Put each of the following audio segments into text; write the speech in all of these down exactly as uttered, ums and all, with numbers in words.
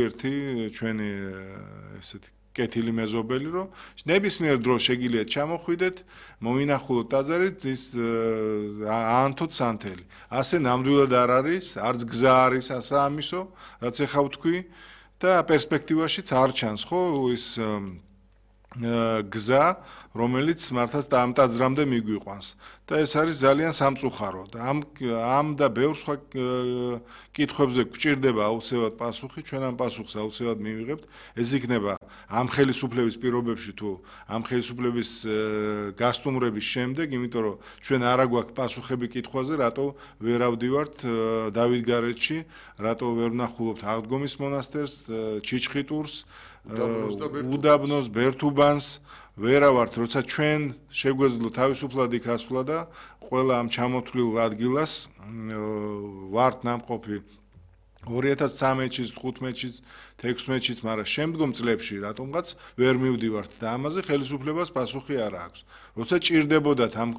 ერთი ჩვენი ესეთი კეთილი მეზობელი, რომ ნებისმიერ დროს შეგიძლიათ ჩამოხვიდეთ, მოინახულოთ ტაძარით ის აანთოთ სანთელი. ასე ნამდვილად არ არის, არც გზა არის ასაამისო, რაც ეხავ თქვი და პერსპექტივაშიც არ ჩანს, ხო, ის გზა, რომელიც მართლაც ამ ტაძრამდე მიგვიყვანს. და ეს არის ძალიან სამწუხარო. და ამ ამ და ბევრ სხვა კითხვებზე გვჭირდება აუცილებლად პასუხი, ჩვენ ამ პასუხს აუცილებლად მივიღებთ. ეს იქნება ამ ხელისუფლების პირობებში თუ ამ ხელისუფლების გასტუმრების შემდეგ, იმიტომ რომ ჩვენ არა გვაქვს პასუხები კითხვაზე, რატო ვერ ავდივართ დავითგარეჯში, რატო ვერ ვნახულობთ აღდგომის მონასტერს, ჩიჩხიტურს, უდაბნოს, ბერთუბანს, ვერავართ, როცა ჩვენ შეგვეძლო თავისუფლად იქ ასვლა და ყველა ამ ჩამოთვლილ ადგილას ვართ ნამყოფი ორი ათას ცხრამეტში, თხუთმეტში, თექვსმეტში, მაგრამ შემდგომ წლებში რატომღაც ვერ მივდივართ და ამაზე ხელისუფლებას პასუხი არ აქვს. როცა ჭირდებოდათ ამ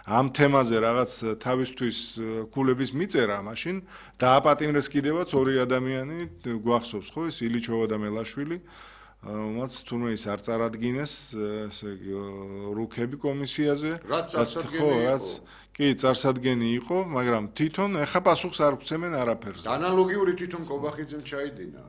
ამ თემაზე რაღაც თავისთვის ქულების მიწერა, მაშინ დააპატიმრეს კიდევაც ორი ადამიანი, გვახსოვს ხო, ეს ილიჩოვა და მელაშვილი, რომელსაც თუნდაც ის არ წარადგინეს, ესე იგი რუქები კომისიაზე, რაც წარსადგენი იყო. კი, წარსადგენი იყო, მაგრამ თვითონ ეხა პასუხს არ გვცემენ არაფერზე. ანალოგიური თვითონ კობახიძემ ჩაიდინა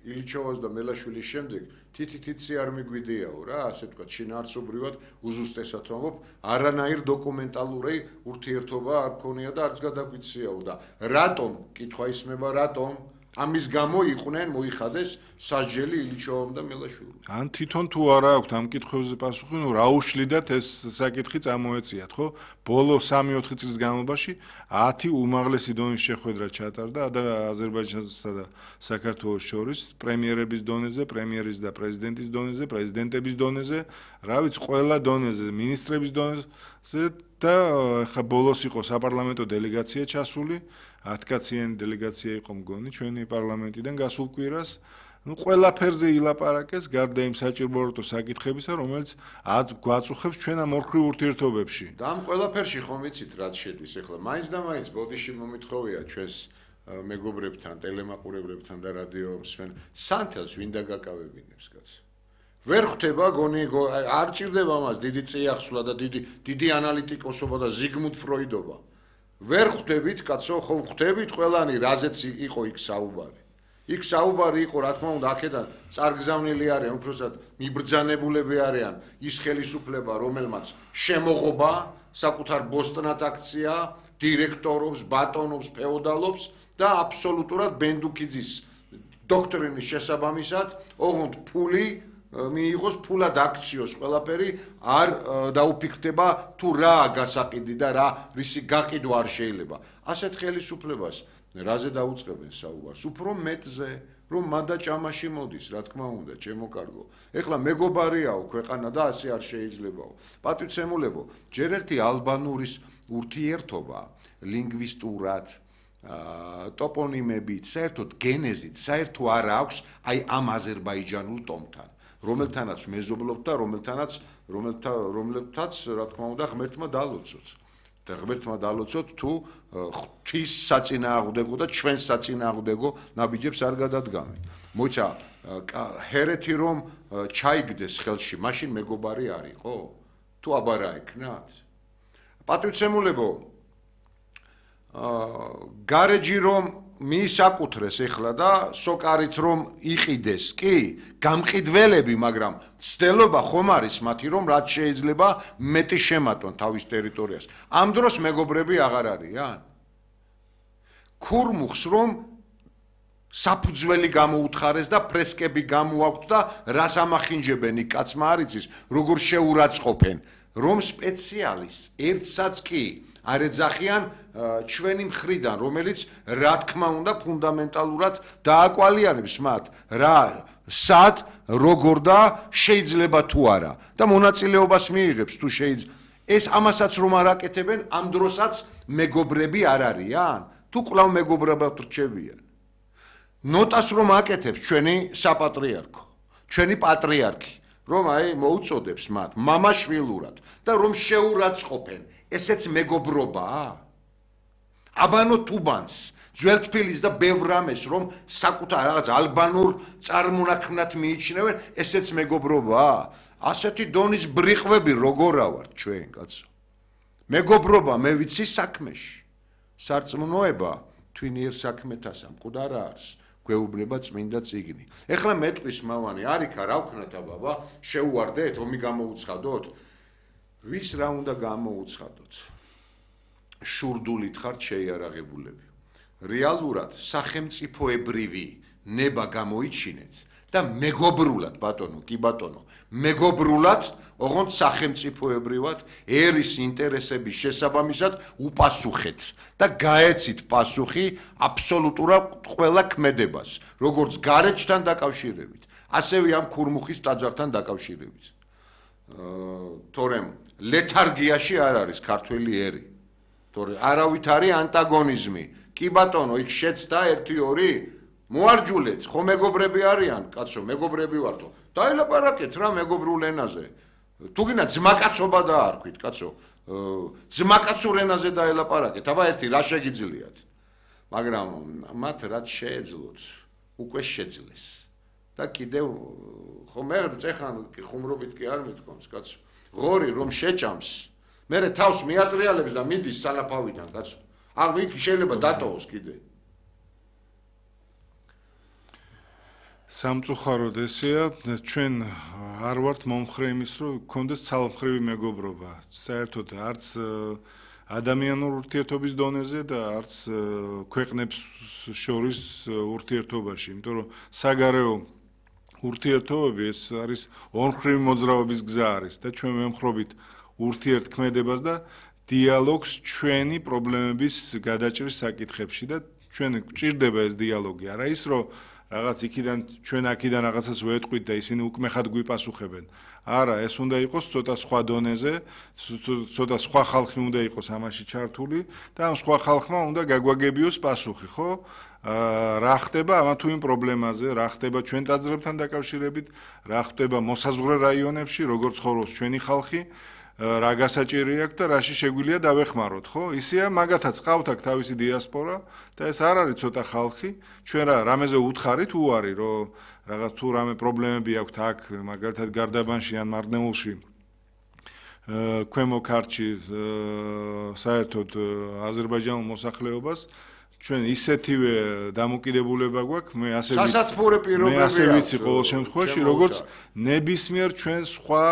ილიჩოვას და მელაშვილის შემდეგ თითითიცი არ მიგვიდიაო რა, ასე ვთქვათ, შინაარსობრივად უზუსტესად ვამბობ, არანაირ დოკუმენტალური ურთიერთობა არ ქონია და არც გადაგვიციაო და რატომ, კითხვა ისმება, რატომ ამის გამო იყვნენ მოიხადეს სასჯელი ილიჩოვამ და მელაშვილმა. ან თვითონ თუ არა აქვთ ამ კითხვებზე პასუხი, ნუ რა უშლიდათ ეს საკითხი წამოეციათ, ხო? ბოლო სამი ოთხი წლის განმავლობაში ათი უმაღლესი დონის შეხვედრა ჩატარდა აზერბაიჯანსა და საქართველოს შორის, პრემიერების დონეზე, პრემიერის და პრეზიდენტის დონეზე, პრეზიდენტების დონეზე, რა ვიცი, ყველა დონეზე, ministrების დონეზე და ხა ბოლოს იყო საპარლამენტო დელეგაცია ჩასული. ათკაციანი დელეგაცია იყო მგონი ჩვენი პარლამენტიდან გასულ კვირას. ნუ ყველაფერზე ილაპარაკეს გარდა იმ საჭიროებო საკითხებისა, რომელიც ად გვაწუხებს ჩვენ ამ ორქრივ ურთიერთობებში. და ამ ყველაფერში ხომ იცით რაც შედის ახლა. მაინც და მაინც ბოდიში მომითხოვია ჩვენს მეგობრებთან, ტელემაყურებლებთან და რადიო მსმენ სანთელს ვინ დაგაკავებინებს კაცო. ვერ ხვდება გონი არ ჭირდება მას დიდი წიაღსვლა და დიდი დიდი ანალიტიკოსობა და ზიგმუნდ ფროიდობა. ვერ ხვდებით, კაცო, ხო ხვდებით ყველანი, რაზეც იყო იქ საუბარი. იქ საუბარი იყო, რა თქმა უნდა, აქედან წარგზავნილი არიან, უბრალოდ მიბრძანებულები არიან ის ხელისუფლება, რომელმაც შემოღობა საკუთარ ბოსტნად აქცია, დირექტორობს, ბატონობს, ფეოდალობს და აბსოლუტურად ბენდუქიძის დოქტრინის შესაბამისად, ოღონდ ფული მიიღოს, ფულად აქციოს ყველაფერი არ დაუფიქრდება თუ რა გასაყიდი და რა რისი გაყიდვა არ შეიძლება. ასეთ ხელისუფლებას რაზე დაუწყებენ საუბარს? უფრო მეტზე, რომ მანდა ჭამაში მოდის, რა თქმა უნდა, ჩემო კარგო. ეხლა მეგობარიაო ქვეყანა და ასე არ შეიძლებაო. პატივცემულებო, ჯერ ერთი ალბანურის ურთიერთობა ლინგვისტურად ტოპონიმებით, საერთოდ გენეზით, საერთო არ აქვს აი ამ აზერბაიჯანულ ტომთან. რომელთანაც მეზობლობთ და რომელთანაც რომელთაც რა თქმა უნდა ღმერთმა დალოცოთ და ღმერთმა დალოცოთ თუ ღვთის საწინააღმდეგო და ჩვენს საწინააღმდეგო ნაბიჯებს არ გადადგამენ. მოიცა ჰერეთი რომ ჩაიგდეს ხელში, მაშინ მეგობარი არ იყო? თუ აბარა ეკნათ? პატივცემულებო, გარეჯი რომ მიისაკუთრეს ეხლა და სოკარით რომ იყიდეს, კი, გამყიდველები, მაგრამ ცდელობა ხომ არის მათი, რომ რაც შეიძლება მეტი შემატონ თავის ტერიტორიას. ამ დროს მეგობრები აღარ არიან. ქურმუხს რომ საფუძველი გამოუთხარეს და ფრესკები გამოაქვთ და რას ამახინჯებენ იქ კაცმა არ იცის, როგორ შეურაცხყოფენ, რომ სპეციალისტს ერთსაც კი არ ეძახიან ჩვენი მხრიდან, რომელიც რა თქმა უნდა ფუნდამენტალურად დააკვალიანებს მათ, რა, სად, როგორ და შეიძლება თუ არა და მონაწილეობას მიიღებს თუ შეიძლება. ეს ამასაც რომ არ აკეთებენ, ამ დროსაც მეგობრები არ არიან, თუ კვლავ მეგობრებად რჩებიან. ნოტას რომ აკეთებს ჩვენი საპატრიარქო, ჩვენი პატრიარქი, რომ აი მოუწოდებს მათ მამაშვილურად და რომ შეურაცხყოფენ. ესეც მეგობრობაა? აბანო თუბანს ძველთბილის და ბევრ რამეს რომ საკუთარ რაღაც ალბანურ წარმონაქმნად მიიჩნევენ, ესეც მეგობრობაა? ასეთი დონის ბრიყვები როგორა ვართ ჩვენ, კაცო? მეგობრობა მე ვიცი საქმეში. სარწმუნოება თვინიერ საქმეთა სამყუდა რა არის? გვეუბნება წმინდა წიგნი. ეხლა მეტყვის მავანი არიქა რა ვქნათ აბაბა, შეუვარდეთ, ომი გამოუცხადოთ? ვის რა უნდა გამოუცხადოთ? შურდულით ხართ შეიარაღებულები. რეალურად სახელმწიფოებრივი ნება გამოიჩინეთ და მეგობრულად, ბატონო, კი ბატონო, მეგობრულად, ოღონდ სახელმწიფოებრივად ერის ინტერესების შესაბამისად უპასუხეთ და გაეცით პასუხი აბსოლუტურად ყველა ქმედებას, როგორც გარეჯთან დაკავშირებით, ასევე ამ ქურმუხის ტაძართან დაკავშირებით. თორემ ლეთარგიაში არ არის ქართველი ერი. თორემ არავით არის ანტაგონიზმი. კი ბატონო, იქ შეცდა ერთი ორი მოარჯულეთ, ხო მეგობრები არიან, კაცო, მეგობრები ვართო. დაელაპარაკეთ რა მეგობრულ ენაზე. თუ გინდა ძმაკაცობა დაარქვით, კაცო, ძმაკაცურ ენაზე დაელაპარაკეთ. აბა ერთი რა შეგიძლიათ? მაგრამ მათ რაც შეეძლოთ, უკვე შეძლეს. და კიდევ ხო მე წეხან ხუმრობით კი არ მithkomს, კაცო. ღორი რომ შეჭამს, მერე თავს მიატრიალებს და მიდის სალაფავიდან, კაცო. ან იქ შეიძლება დატოვოს კიდე. სამწუხაროდ ესეა, ჩვენ არ ვართ მომხრე იმის, რომ გქონდეს ცალმხრივი მეგობრობა. საერთოდ არც ადამიანურ ურთიერთობის დონეზე და არც ქვეყნებს შორის ურთიერთობაში, იმიტომ რომ საგარეო ურთიერთობები ეს არის ორმხრივი მოძრაობის გზა არის და ჩვენ ვემხრობით ურთიერთქმედებას და დიალოგს ჩვენი პრობლემების გადაჭრის საკითხებში და ჩვენ გვჭირდება ეს დიალოგი, არა ის რომ რაღაც იქიდან ჩვენ აქიდან რაღაცას ვეტყვით და ისინი უკმეხად გვიპასუხებენ. არა, ეს უნდა იყოს ცოტა სხვა დონეზე, ცოტა სხვა ხალხი უნდა იყოს ამაში ჩართული და ამ სხვა ხალხმა უნდა გაგვაგებიოს პასუხი, ხო? რა ხდება ამა თუ იმ პრობლემაზე, რა ხდება ჩვენ ტაძრებთან დაკავშირებით, რა ხდება მოსაზღვრე რაიონებში, როგორ ცხოვრობს ჩვენი ხალხი, რა გასაჭირი აქვს და რაში შეგვიძლია დავეხმაროთ, ხო? ისეა, მაგათაც ყავთ აქ თავისი დიასპორა და ეს არ არის ცოტა ხალხი. ჩვენ რა რამეზე უთხარით უარი, რომ რაღაც თუ რამე პრობლემები აქვს აქ, მაგალითად გარდაბანში ან მარნეულში, ქვემო ქართლში, საერთოდ აზერბაიჯანულ მოსახლეობას ჩვენ ისეთივე დამოკიდებულება გვაქვს, მე ასე ვიცი. სასათბურე პირობები მე ასე ვიცი ყოველ შემთხვევაში, როგორც ნებისმიერ ჩვენ სხვა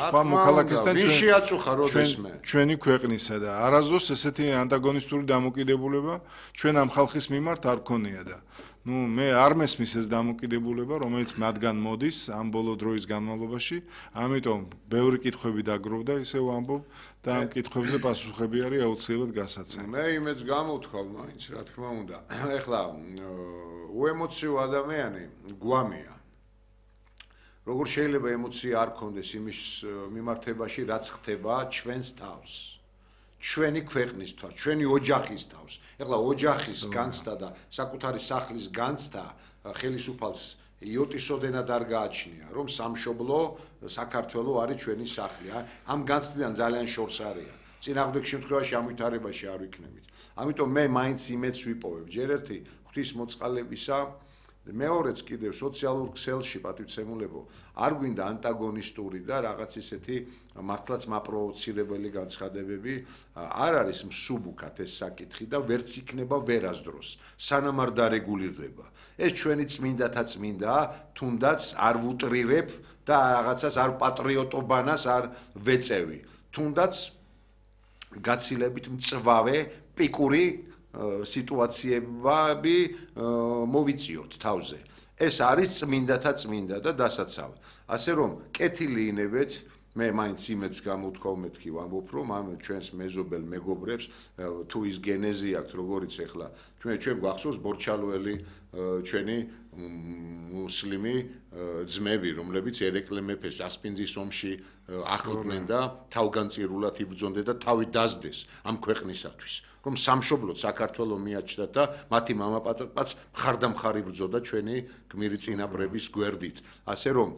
სხვა მოქალაქესთან ჩვენ შეაწუხა როდესმე ჩვენი ქვეყნისა და არაზოს ესეთი ანტაგონისტური დამოკიდებულება ჩვენ ამ ხალხის მიმართ არ გქონია და ნუ მე არ მესმის ეს დამოკიდებულება, რომელიც მათგან მოდის ამ ბოლო დროის განმავლობაში, ამიტომ ბევრი კითხვები დაგროვდა, ისე ვამბობ და ამ კითხვებზე პასუხები არის აუცილებლად გასაცემი. მე იმედს გამოვთქვავ, მაინც რა თქმა უნდა. ეხლა უემოციო ადამიანი გვამეა. როგორ შეიძლება ემოცია არ გქონდეს იმის მიმართებაში, რაც ხდება ჩვენს თავს. ჩვენი ქვეყნის თავს, ჩვენი ოჯახის თავს. ეხლა ოჯახის განცდა და საკუთარი სახლის განცდა ხელისუფალს იოტისოდენად არ გააჩნია, რომ სამშობლო საქართველო არის ჩვენი სახლი. ამ განცდიდან ძალიან შორს არიან. წინააღმდეგ შემთხვევაში ამ ვითარებაში არ ვიქნებით. ამიტომ მე მაინც იმედს ვიპოვებ. ჯერ ერთი ღვთისმოწყალებისა, მეორეც კიდევ სოციალურ ქსელში პატივცემულებო, არ გვინდა ანტაგონისტური და რაღაც ისეთი მართლაც მაპროვოცირებელი განცხადებები, არ არის მსუბუქად ეს საკითხი და ვერც იქნება ვერასდროს, სანამ არ დარეგულირდება. ეს ჩვენი წმინდათა წმინდა, თუნდაც არ ვუტრირებ და რაღაცას არ პატრიოტობანას არ ვეწევი. თუნდაც გაცილებით მწვავე პიკური სიტუაციები მოვიწიოთ თავზე. ეს არის წმინდათა წმინდა და დასაცავი. ასე რომ, კეთილი ინებეთ, მე მაინც იმედს გამოვთქვავ, მეთქი ვამბობ, რომ ამ ჩვენს მეზობელ მეგობრებს თუ ის გენეზი აქვს, როგორიც ახლა ჩვენ ჩვენ გვახსოვს ბორჩალოელი ჩვენი მუსლიმი ძმები, რომლებიც ერეკლე მეფეს ასპინძის ომში ახლდნენ და თავგანწირულად იბრძონდნენ და თავი დასდეს ამ ქვეყნისათვის. რომ სამშობლოდ საქართველო მიაჩნდათ და მათი მამაპატაკაც მხარდამხარი ბრძოდა ჩვენი გმირი წინაპრების გვერდით. ასე რომ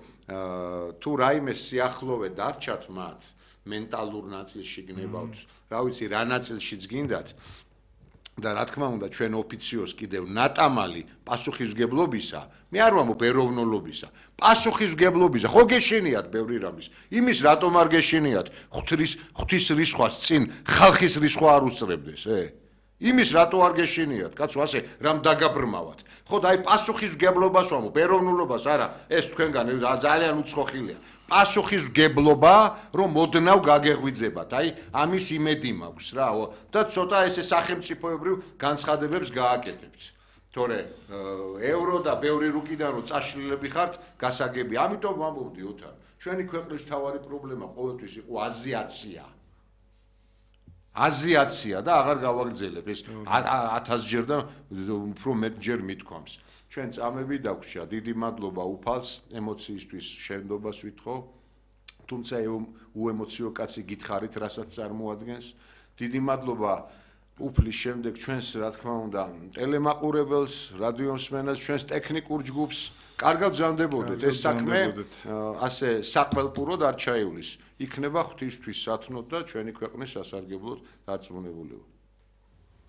თუ რაიმე სიახლოვე დარჩათ მათ მენტალურ ნაწილში გნებავთ, რა ვიცი, რა ნაწილშიც გინდათ, და რა თქმა უნდა ჩვენ ოფიციოს კიდევ ნატამალი პასუხისმგებლობისა, მე არ ვამბობ ეროვნულობისა, პასუხისმგებლობისა, ხო გეშინიათ ბევრი რამის. იმის რატომ არ გეშინიათ? ღვთის ღვთის რისხვას წინ ხალხის რისხვა არ უსწრებდეს, ე? იმის რატო არ გეშინიათ? კაცო, ასე რამ დაგაბრმავათ. ხო და აი პასუხისმგებლობას ვამბობ, ეროვნულობას არა, ეს თქვენგან ძალიან უცხოხილია. პასუხისმგებლობა, რომ მოდნავ გაგეღვიძებათ. აი, ამის იმედი მაქვს რა და ცოტა ესე სახელმწიფოებრივ განცხადებებს გააკეთებთ. თორე ევრო და ბევრი რუკიდან რომ წაშლილები ხართ, გასაგები. ამიტომ ვამბობდი ოთარ, ჩვენი ქვეყნის მთავარი პრობლემა ყოველთვის იყო აზიაცია. აზიაცია და აღარ გავაგრძელებ ეს ათასჯერ და უფრო მეტჯერ მithქვამს. ჩვენ წამები დაგვრჩა, დიდი მადლობა უფალს, ემოციისთვის შენდობას ვითხოვ. თუმცა უემოციო კაცი გითხარით, რასაც წარმოადგენს. დიდი მადლობა უფლის შემდეგ ჩვენს, რა თქმა უნდა, ტელემაყურებელს, რადიო მსმენელს, ჩვენს ტექნიკურ ჯგუფს. კარგად ბრძანდებოდეთ ეს საქმე, ასე საყველპუროდ არ ჩაივლის. იქნება ღვთისთვის სათნოდ და ჩვენი ქვეყნის სასარგებლოდ დარწმუნებული.